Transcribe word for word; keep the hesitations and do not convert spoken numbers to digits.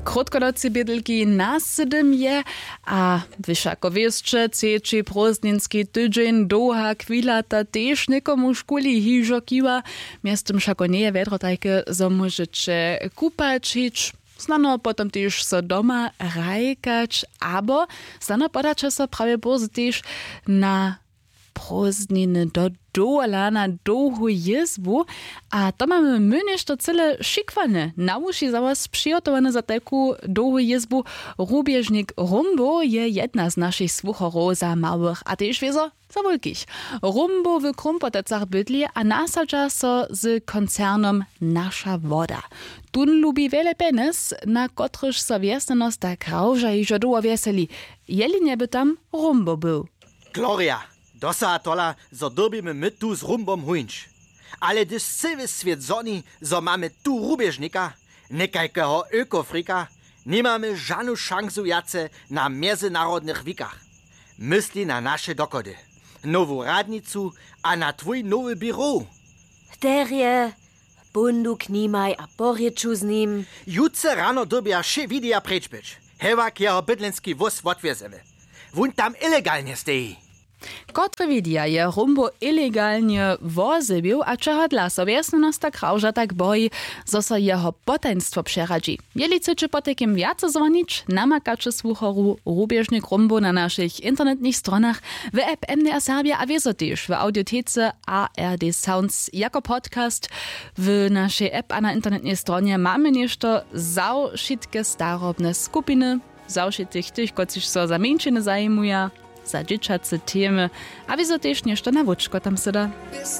Krótkonocy bědlki na sydym je. A wy wšako wěsće, třeći prózdninski tydźeń, dołha chwila, ta tež někomuž kuli hižo kiwa. Mjeztym wšako njeje wjedro tajke, zo móžeće kupać hić, snano potom tež so doma hrajkać, abo snano podaće so prawje bórze tež na prózdniny do dowola na dołhu jězbu. A to mamy my něšto cyle šikwane na wuši za was přihotowane za tajku dołhu jězbu. Rubježnik rumbow je jedna z našich słucharow za małych a tež wězo za wulkich. Rumbow w krumpotecach bydli a nasadźa so z koncernom naša woda. Tón lubi wjele pjenjez, na kotrychž so wjesnjanosta krawža hižo dołho wjeseli, jeli njeby tam rumbow był. Gloria, dosaha tola, zo dyrbimy my tu z rumbom huńć. Ale hdyž cyły swět zhoni, zo mamy tu rubježnika, někajkeho ökofrika, nimamy žanu šansu wjace na mjezynarodnych wikach. Mysli na naše dochody, nowu radnicu a na twój nowy běrow. Terje, bundu k nimaj a porěču z nim. Jutře rano dyrbja wšě widija preč być, hewak jeho bydlenski wóz wotwjezemy. Wón tam ilegalnje steji. Kotre widija je rumbow ilegalnje wozebił a čehodla so wjesnjanosta krawža tak boji, zo so jeho potajnstwo přeradźi? Jeli chcyće potajkim wjace zwonić, namakaće słucharu rubježnik rumbow na našich internetnych stronach, w app mdr serbja a wězo tež w audiotece ard sounds jako podcast. W našej app a na internetnej stronje mamy něšto za wšitke starobne skupiny, za wšitkich tych, kotřiž so za mjeńšiny zajimuja, za dźěćace temy, a wězo tež něšto na wóčko tam syda.